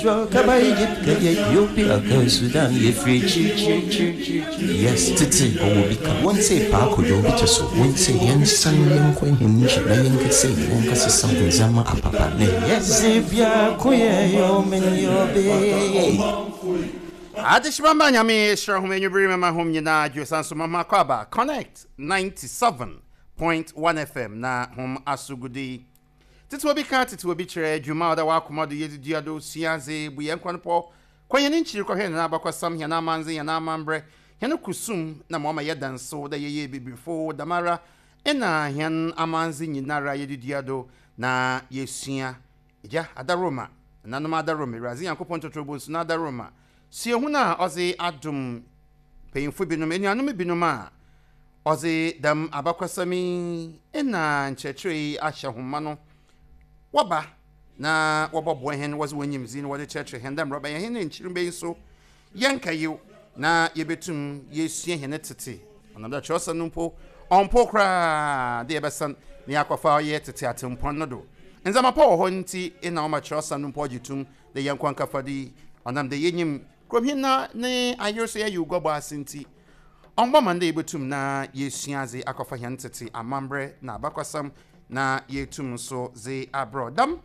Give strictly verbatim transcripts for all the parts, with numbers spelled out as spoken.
Kaba Egypt, kɛyɛ Ethiopia, kɛ Sudan, yɛfiri akyirikyirikyirikyiri. Yes, tete ɔwɔ bi ka. Wɔn sɛ paako dwo bi te so. Wɔn sɛ yɛnsan yɛnkɔ yɛn nkyi na yɛnkɛsɛ yɛnkɛsesa ndzɛmba apapa. Na yɛdze biako yɛ yɔmen yɔbe. Adehyemamba, Nyame hyira hom enwummere, mama hom nyinaa dwo san so mama kɔ aba Connect ninety-seven point one F M na hom asogudi tete obi ka tete obi kyerɛ dwuma a ɔda w'akoma do yɛdze dua do sua adze bu yɛn kwan pɔ kɔ yɛn nkyiri kɔhwɛ yɛn abakɔsam, yɛn amanze, yɛn amambrɛ, yɛn kusum na ma ɔma yɛ danso dɛ yɛyɛ bibifo damara ɛna yɛn amanze nyinara yɛde dua do na yɛsua gya adaroma nanom adaroma Awurade Nyankopɔn totorobo nso no adaroma suahu no a ɔdze adom mpanyimfo binom, anuanom binom a ɔdze dɛm abakɔsɛm yi ɛna nkyerɛkyerɛ yi ahyɛ homa no wɔba na wɔbɔboa hɛn, wɔdze wɔn nyimdzi na wɔde kyerɛkyerɛ hɛn dɛ mmerɛ ɔbɛyɛ hɛn ne nkyirima yi nso yɛnkayew na yɛbɛtum yɛsua hɛn tete. Ɔnam dɛ kyerɛwsɛm no mpo ɔmpo koraa de yɛbɛsan na yɛakɔfa ɔyɛ tete atempɔn no do. Ndzɛmba pa wɔ hɔ nti ɛna ɔma kyerɛwsɛm no mpo ɔgye tum de yɛnkɔ nkafa do yi. Ɔnam dɛ yɛnyim kurom na ne ayer so yɛyɛ oguabɔ ase nti ɔmbɔ ma ndɛ yɛbɛtum na yɛsua adze akɔfa hɛn tete amambrɛ na abakɔsɛm na yɛtum nso dze abrɛ dam.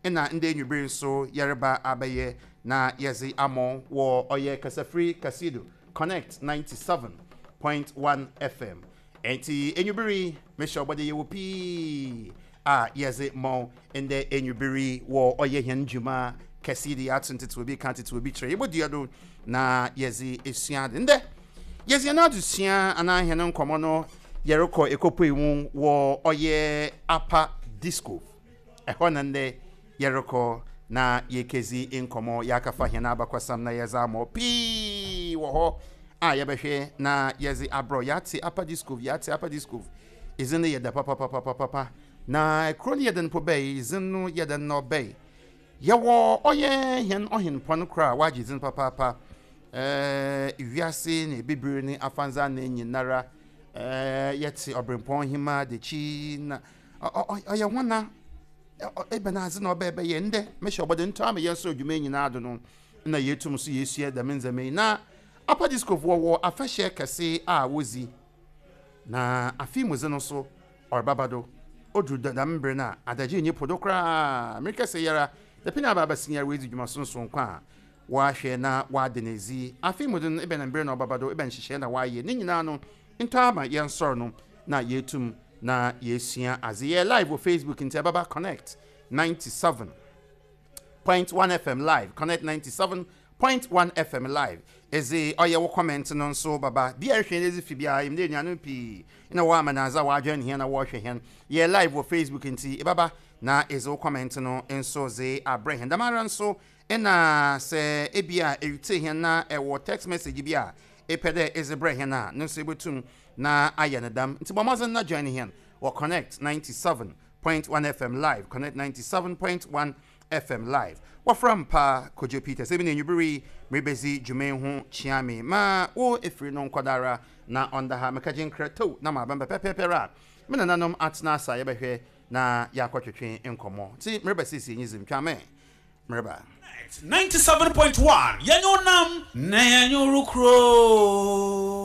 Ɛna ndɛ enwibere nso yɛreba abɛyɛ na yɛdze amɔ wɔ ɔyɛ kasafiri kasido Connect ninety-seven point one F M. Enti enwibere mehyɛ ɔbɔde yɛwɔ pii a yɛdze mɔ ndɛ enwibere wɔ ɔyɛ hɛn dwuma kɛse de yɛato ntete obi ka tete obi kyerɛ yɛbɔdua do na yɛdze esua ade. Ndɛ yɛdze yɛn adesua anaa hɛn nkɔmmɔ no yɛrekɔ ekɔpue mu wɔ ɔyɛ Upper Disco ɛhɔ na ndɛ yɛrekɔ na yɛkɛzi nkɔmmɔ, yɛakafa hɛn abakɔsɛm na yɛdze amɔ pii wɔ hɔ a yɛbɛhwɛ na yɛdze abrɔ. Yɛate Upper Disco, yɛate Upper Disco ɛdzin no yɛda papapapapapa na kuro no yɛde no po bɛyi dzin no yɛde no bɛyi. Yɛwɔ ɔyɛ hɛn ɔhenpɔn kora a wagye dzin papaapa ɛɛ wiase na ebibiri ne afanza na nyinara. ɛɛ yɛte ɔbrempɔn hema dekyi na ɔyɛ hɔna ebɛn adze na ɔbɛɛ bɛyɛ. Ndɛ mehyɛ ɔbɔde ntɔ ama yɛn nso adwuma nyinaa do no na yɛtum so yɛsua dɛm ndzɛmba yi. Na Upper Discofoɔ wɔ afahyɛ kɛse a wodzi na afe mu dze no so ɔrebaba do oduru dɛm mbere no a adagye nyi po do koraa. Mmerika sɛ yɛra dɛpɛ na aba abɛsen yɛra wɔadzi dwuma sonson kwan a wɔahwɛ na wɔade no edzi. Afe mu de no ebɛn mbere na ɔbaba do, ebɛn nhyehyɛe na wɔayɛ ne nyinaa no ntɔ ama yɛn sɔrɔ no na yɛtum na yɛsua adze. Yɛ live wɔ Facebook nti ɛbɛba Connect ninety-seven point one F M live, Connect ninety-seven point one F M live. Ɛdze ɔyɛ wo comment no nso baba bia ɛhwɛ no ɛdze fi biara yɛm dɛ anuanom pii na wɔ amanadze a wɔadwɛn hɛn na wɔrehwɛ hɛn. Yɛ live wɔ Facebook nti ɛbaba na ɛdze wo comment no nso dze abrɛ hɛn. Dɛm ara nso ɛna sɛ ebia ɛretie hɛn na ɛwɔ text message bi a ɛpɛ dɛ ɛdze brɛ hɛn a no nso ɛbɛtum na ayɛ no dam. Nti bɔ mmɔdzen na join hɛn wɔ Connect ninety-seven point one F M live, Connect ninety-seven point one F M live. Wɔfrɛ mpa Kojo Peters ebi na enwibere yi merebɛzi dwuma yi ho kyea me ma wo efiri no nkɔdara na ɔnda ha mekagye nkra tow na ma abɛn pɛpɛɛpɛr a me nananom atena asa yɛbɛhwɛ na yɛakɔtwetwe nkɔmmɔ. Nti mereba siesie nyi zim twa me mereba. ninety-seven point one yɛnyɛ onam na yɛnyɛ orokuro.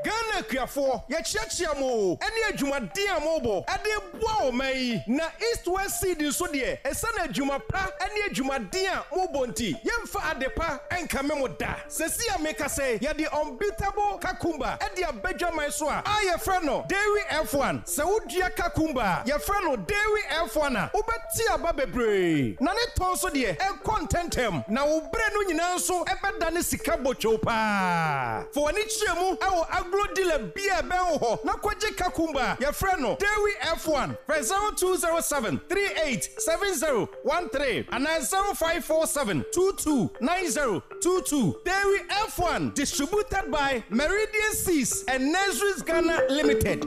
Ghana akuafoɔ, yɛkyiakyia mo ɛne adwumaden a mobɔ ɛde boa ɔman yi. Na East West Seed nso deɛ, ɛsiane adwuma pa ne adwumaden a mobɔ nti, yɛmfa ade pa ɛnkame mo da. Sɛsi a meka sɛ yɛde unbeatable cucumber ɛde abadwaman so a a yɛfrɛ no Dairy F one. Sɛ wodua cucumber a yɛfrɛ no Dairy F one a, wobɛte aba bebree na ne tɔn so deɛ ɛkɔ ntɛntɛm na wo berɛ no nyinaa nso ɛbɛda ne sika botwow paa. Fa w'ani kyerɛ mu ɛwɔ agro dealer bi a ɛbɛn wo hɔ na kɔgye cucumber a yɛfrɛ no Dairy F one. Frɛ zero two zero seven three eight seven zero one three anaa zero five four seven two two nine zero two two. Dairy F one, distributed by Meridian Seas and Nurseries Ghana Limited.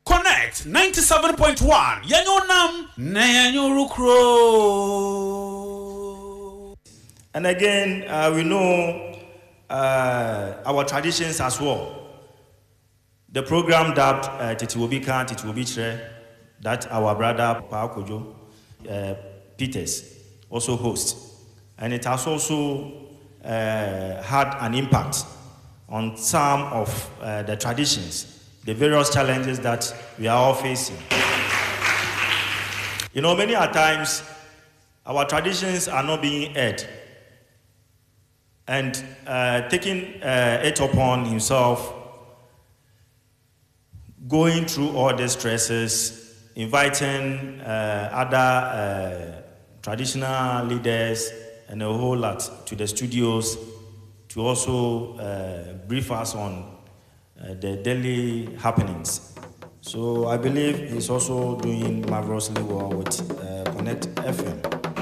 Connect ninety-seven point one yɛnyɛ onam na yɛnyɛ orokuro. And again, uh, we know uh, our traditions as well. The program dubbed uh, Tete Obi Ka, Tete Obi Kyerɛ, that our brother Paa Kojo uh, Peters also hosts. And it has also uh, had an impact on some of uh, the traditions, the various challenges that we are all facing. You know, many a times our traditions are not being aired. And uh, taking uh, it upon himself, going through all the stresses, inviting uh, other uh, traditional leaders and a whole lot to the studios to also uh, brief us on uh, the daily happenings. So I believe he's also doing marvelously well with uh, Connect F M.